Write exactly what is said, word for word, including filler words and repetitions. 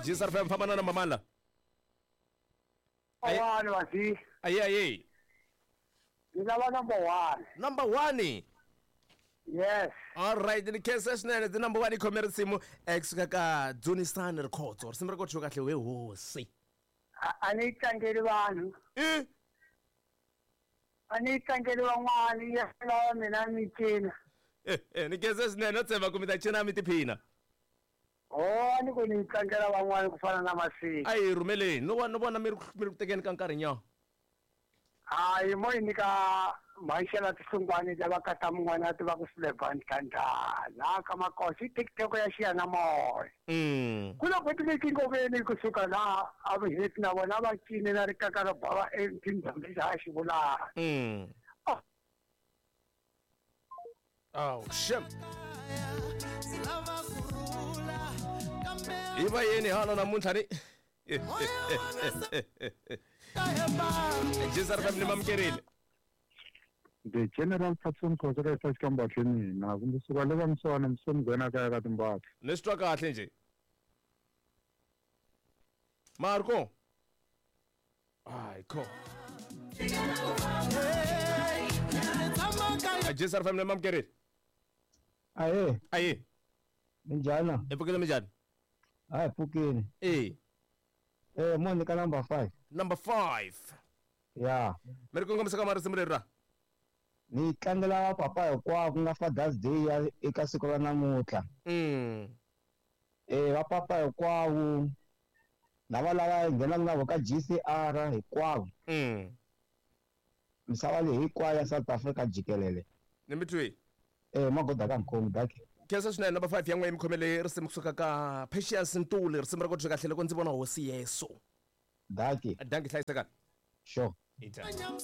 G S R F M, famba na number mani la? Aye. One wasi. Aye, aye. Ni lava number one. Number one. Yes. All right, ni khensa swinene. Ti number one yi khome risimu ekusuka ka Dzunisani Rikhotso. Risimu ra ko kahle we hosi. A a ni tlangeli vanhu. I A ni tlangeli van'wani, ya lava mina ni cina. Eh, eh, ni khensa swinene, no tshemba ku mi ta cina mi tiphina. Oh, a ni ku ni tlangela van'wani ku fana na Masiki. A hi rhumeleni, no vona no vona mi ri mi ri ku tekeni ka nkarhi nyana. Hayi, mo yi nyika mhaxela tihlungwani lava kata mun'wana a tiva ku Sullivan Thandana laha ka Makosi i TikTok ya xiyanimoya. Mm. Ku na boti leti ngoveni kusuka laha a vuheti na vona va cine na rikaka ro bava etindhawu lexi a xi vulaka. Mm. Oh, shem. Hi va yini hala namuntlha ni? G S R F M, ni mamukerile. The General Patson Khoza ka isa xikambahle mina kumbe suka le ka miswana misoni nghena kaya ka timbahla. Ni swi twa kahle nje. Marco. Ai, ko. G S R F M, ni mamukerile. Ahe. Aye. Minjhani? Hi pfukile, minjhani? Hayi, pfukile. Eh. Eh, mo nyika number five. Number five. Ya. Mi ri kongomisa ka marisimu leri ra? Ni tlangela papa hinkwavo ku nga Father's Day ya eka siku ra namuntlha. Mm. Eh, va papa hinkwavo lava lava hi nghenaka na vo ka G C R hinkwavo. Mm. Misava leyi hinkwayo ya South Africa jikelele. Ni mi twi. Eh, magoda ka nkhomi daki. Khensa swinene. Number five ya n'we mi khomele risimu kusuka ka Patience Ntuli, risimu ra ko kahle loko ndzi vona hosi Yesu. Daki. Danki, hlayisekani. Sure. Ita.